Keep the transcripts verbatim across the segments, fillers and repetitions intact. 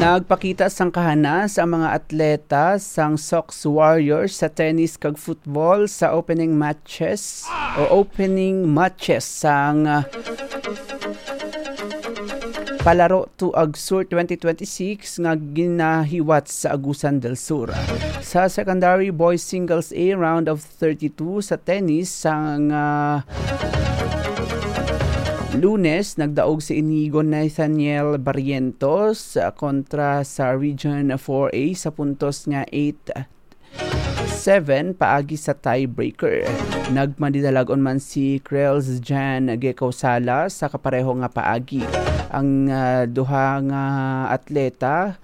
Nagpakita sang kahanas ang mga atleta sang Sox Warriors sa tennis kag football sa opening matches o opening matches sang, ah, Palaro Tuag Sur twenty twenty-six nga ginahiwat sa Agusan del Sur. Sa secondary boys singles A, round of thirty-two sa tennis sang, ah, Lunes, nagdaog si Inigo Nathaniel Barrientos, ah, kontra sa Region four A sa puntos nga eight seven paagi sa tiebreaker. Nagmadidalagon man si Krels Jan Gekausala sa kapareho nga paagi. Ang, ah, duha nga atleta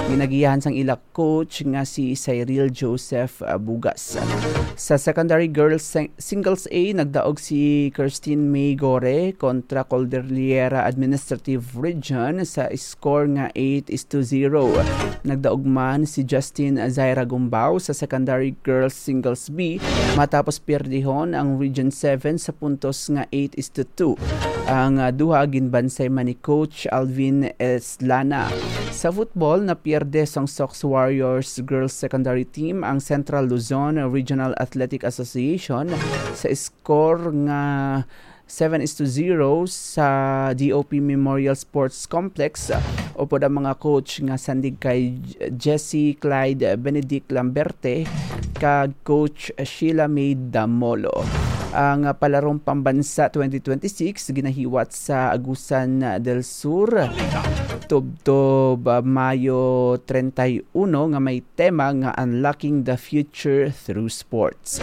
ginagiyahan sang ila coach nga si Cyril Joseph, ah, Bugas. Sa secondary girls sing-, singles A, nagdaog si Christine May Gore kontra Cordillera Administrative Region sa score nga eight is to zero. Nagdaog man si Justin Zaira Gumbao sa secondary girls singles B matapos pierdihon ang Region seven sa puntos nga eight is to two. Ang, ah, duha ginbansay man ni Coach Alvin Eslana. Sa football, napierde sang Sox Warriors Girls Secondary Team ang Central Luzon Regional Athletic Association sa score nga seven is to zero sa D O P Memorial Sports Complex, upod ang mga coach nga sandig kay Jesse Clyde Benedict Lamberte kag Coach Sheila May Damolo. Ang Palarong Pambansa twenty twenty-six ginahiwat sa Agusan del Sur, tubtob, ah, Mayo treinta y uno, nga may tema nga Unlocking the Future Through Sports.